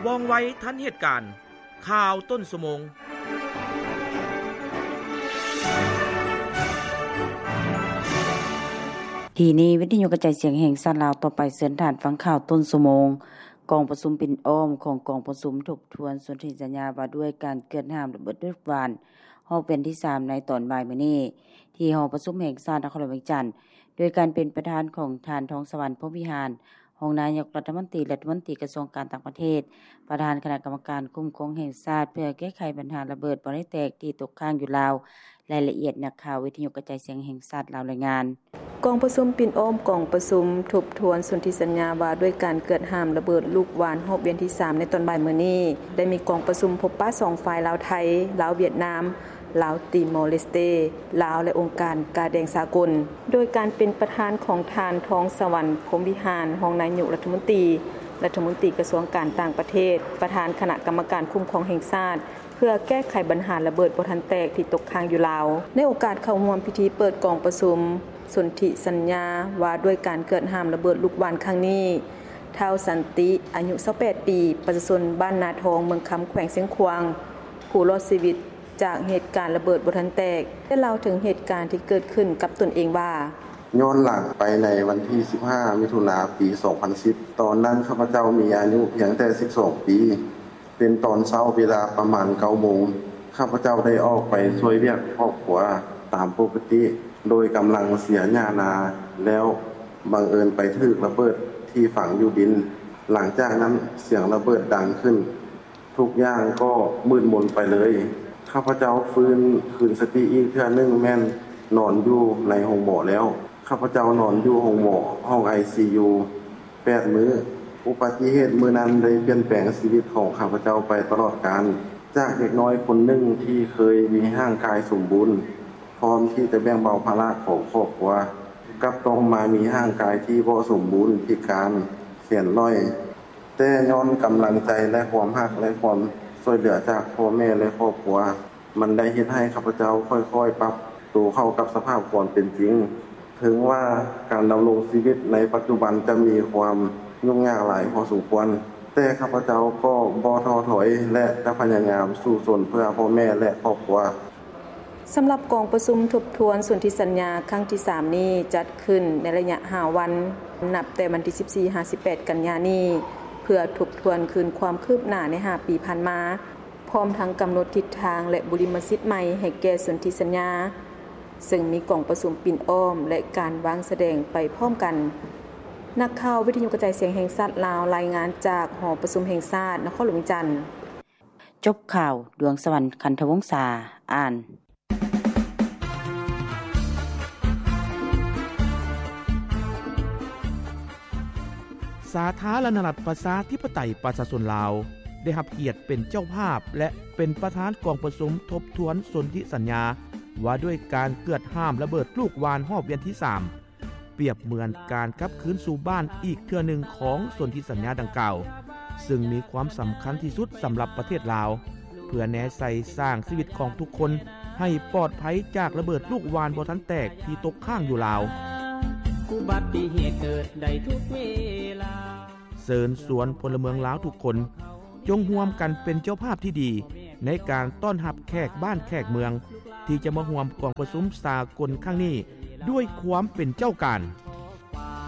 ວ່ອງໄວທັນເຫດການ. ຂ່າວຕົ້ນຊົ່ວໂມງ. ທີ່ນີ້ວິທະຍຸກະຈາຍສຽງແຫ່ງຊາດລາວ. ຕໍ່ໄປເຊີນທ່ານຟັງຂ່າວຕົ້ນຊົ່ວໂມງ. ກອງປະຊຸມປິ່ນອ້ອມຂອງກອງປະຊຸມທົບທວນສົນທິສັນຍາວ່າດ້ວຍການເກືອດຫ້າມລະເບີດລູກຫວ່ານ ຮອບວຽນທີສາມ ໃນຕອນບ່າຍມື້ນີ້ ທີ່ຫໍປະຊຸມແຫ່ງຊາດນະຄອນຫຼວງວຽງຈັນ ໂດຍການເປັນປະທານຂອງທ່ານ ທອງສະຫວັນ ພົມວິຫານ ຮອງນາຍົກລັດຖະມົນຕີ, ລັດຖະມົນຕີກະຊວງການຕ່າງປະເທດ, ປະທານຄະນະກຳມະການຄຸ້ມຄອງແຫ່ງຊາດ ເພື່ອແກ້ໄຂບັນຫາລະເບີດບໍ່ໄດ້ແຕກທີ່ຕົກຄ້າງຢູ່ລາວ. ລາຍລະອຽດ ນັກຂ່າວວິທະຍຸກະຈາຍສຽງແຫ່ງຊາດລາວລາຍງານ. ກອງປະຊຸມປິ່ນອ້ອມກອງປະຊຸມທົບທວນສົນທິສັນຍາວ່າດ້ວຍການເກືອດຫ້າມລະເບີດລູກຫວ່ານຮອບວຽນທີສາມ ໃນຕອນບ່າຍມື້ນີ້ ໄດ້ມີກອງປະຊຸມພົບປະສອງຝ່າຍ ລາວໄທ, ລາວຫວຽດນາມ, ລາວຕີມໍເລສເຕ, ລາວ ແລະ ອົງການກາແດງສາກົນ ໂດຍການເປັນປະທານຂອງທ່ານ ທອງສະຫວັນ ພົມວິຫານ ຮອງນາຍົກລັດຖະມົນຕີ, ລັດຖະມົນຕີກະຊວງການຕ່າງປະເທດ, ປະທານຄະນະກຳມະການຄຸ້ມຄອງແຫ່ງຊາດ ເພື່ອແກ້ໄຂບັນຫາລະເບີດບໍ່ທັນແຕກທີ່ຕົກຄ້າງຢູ່ລາວ. ໃນໂອກາດເຂົ້າຮ່ວມພິທີເປີດກອງປະຊຸມສົນທິສັນຍາວ່າດ້ວຍການເກືອດຫ້າມລະເບີດລູກຫວ່ານຄັ້ງນີ້, ທ້າວ ສັນຕິ ອາຍຸ ຊາວແປດ ປີ, ປະຊາຊົນບ້ານນາທອງ, ເມືອງຄຳ, ແຂວງຊຽງຂວາງ, ຜູ້ລອດຊີວິດ ຈາກເຫດການລະເບີດບໍ່ທັນແຕກ ໄດ້ເລົ່າເຖິງເຫດການທີ່ເກີດຂຶ້ນກັບຕົນເອງວ່າ: ຍ້ອນຫຼັງໄປໃນວັນທີສິບຫ້າ ມິຖຸນາ ປີສອງພັນສິບ ຕອນນັ້ນຂ້າພະເຈົ້າມີອາຍຸພຽງແຕ່ສິບສອງປີ. ເປັນຕອນເຊົ້າເວລາປະມານເກົ້າໂມງ, ຂ້າພະເຈົ້າໄດ້ອອກໄປຊ່ວຍວຽກຄອບຄົວຕາມປົກກະຕິ ໂດຍກຳລັງເສຍຫຍ້ານາແລ້ວ ບັງເອີນໄປຖືກລະເບີດທີ່ຝັງຢູ່ດິນ. ຫຼັງຈາກນັ້ນສຽງລະເບີດດັງຂຶ້ນ ທຸກຢ່າງກໍມືດມົນໄປເລີຍ. ຂ້າພະເຈົ້າຟື້ນຄືນສະຕິອີກເທື່ອໜຶ່ງແມ່ນນອນຢູ່ໃນໂຮງໝໍແລ້ວ. ຂ້າພະເຈົ້ານອນຢູ່ໂຮງໝໍ ຫ້ອງໄອຊີຢູ ແປດມື້. ອຸບັດຕິເຫດມື້ນັ້ນໄດ້ປ່ຽນແປງຊີວິດຂອງຂ້າພະເຈົ້າໄປຕະຫຼອດການ. ຈາກເດັກນ້ອຍຄົນໜຶ່ງທີ່ເຄີຍມີຮ່າງກາຍສົມບູນ ພ້ອມທີ່ຈະແບ່ງເບົາພາລະຂອງຄອບຄົວ, ກັບຕ້ອງມາມີຮ່າງກາຍທີ່ບໍ່ສົມບູນ, ພິການ, ແຂນໜ້ອຍ. ແຕ່ຍ້ອນກຳລັງໃຈ ແລະ ຄວາມຮັກ ແລະ ຄວາມຊ່ວຍເຫຼືອຈາກພໍ່ແມ່ ແລະ ຄອບຄົວ, ມັນໄດ້ເຮັດໃຫ້ຂ້າພະເຈົ້າຄ່ອຍໆປັບໂຕເຂົ້າກັບສະພາບຄວາມເປັນຈິງ. ເຖິງວ່າການດຳລົງຊີວິດໃນປັດຈຸບັນຈະມີຄວາມຫຍຸ້ງຍາກຫຼາຍພໍສົມຄວນ, ແຕ່ຂ້າພະເຈົ້າກໍບໍ່ທໍ້ຖອຍ ແລະ ຈະພະຍາຍາມສູ້ຊົນເພື່ອພໍ່ແມ່ ແລະ ຄອບຄົວ. ສຳລັບກອງປະຊຸມທົບທວນສົນທິສັນຍາຄັ້ງທີສາມນີ້ ຈັດຂຶ້ນໃນໄລຍະຫ້າວັນ, ນັບແຕ່ວັນທີສິບສີ່ຫາສິບແປດ ກັນຍານີ້ ເພື່ອທົບທວນຄືນຄວາມຄືບໜ້າໃນຫ້າປີຜ່ານມາ, ພ້ອມທັງກຳນົດທິດທາງ ແລະ ບຸລິມະສິດໃໝ່ໃຫ້ແກ່ສົນທິສັນຍາ, ເຊິ່ງມີກອງປະຊຸມປິ່ນອ້ອມ ແລະ ການວາງສະແດງໄປພ້ອມກັນ. ນັກຂ່າວວິທະຍຸກະຈາຍສຽງແຫ່ງຊາດລາວ ລາຍງານຈາກຫໍປະຊຸມແຫ່ງຊາດ ນະຄອນຫຼວງວຽງຈັນ. ຈົບຂ່າວ, ດວງສະຫວັນ ຄັນທະວົງສາ ອ່ານ. ສາທາລະນະລັດ ປະຊາທິປະໄຕ ປະຊາຊົນລາວ ໄດ້ຮັບກຽດເປັນເຈົ້າພາບ ແລະ ເປັນປະທານກອງປະຊຸມທົບທວນສົນທິສັນຍາ ວ່າດ້ວຍການເກືອດຫ້າມລະເບີດລູກຫວ່ານຮອບວຽນທີສາມ ປຽບເໝືອນການກັບຄືນສູ່ບ້ານອີກເທື່ອໜຶ່ງຂອງສົນທິສັນຍາດັ່ງກ່າວ, ເຊິ່ງມີຄວາມສຳຄັນທີ່ສຸດສຳລັບປະເທດລາວ, ເພື່ອແນໃສ່ສ້າງຊີວິດຂອງທຸກຄົນໃຫ້ປອດໄພຈາກລະເບີດລູກຫວ່ານບໍ່ທັນແຕກທີ່ຕົກຄ້າງຢູ່ລາວ. ອຸບັດຕິເຫດເກີດໄດ້ທຸກເວລາ. ເຊີນຊວນພົນລະເມືອງລາວທຸກຄົນ ຈົ່ງຮ່ວມກັນເປັນເຈົ້າພາບທີ່ດີໃນການຕ້ອນຮັບແຂກບ້ານແຂກເມືອງ ທີ່ຈະມາຮ່ວມກອງປະຊຸມສາກົນຄັ້ງນີ້ດ້ວຍຄວາມເປັນເຈົ້າການ.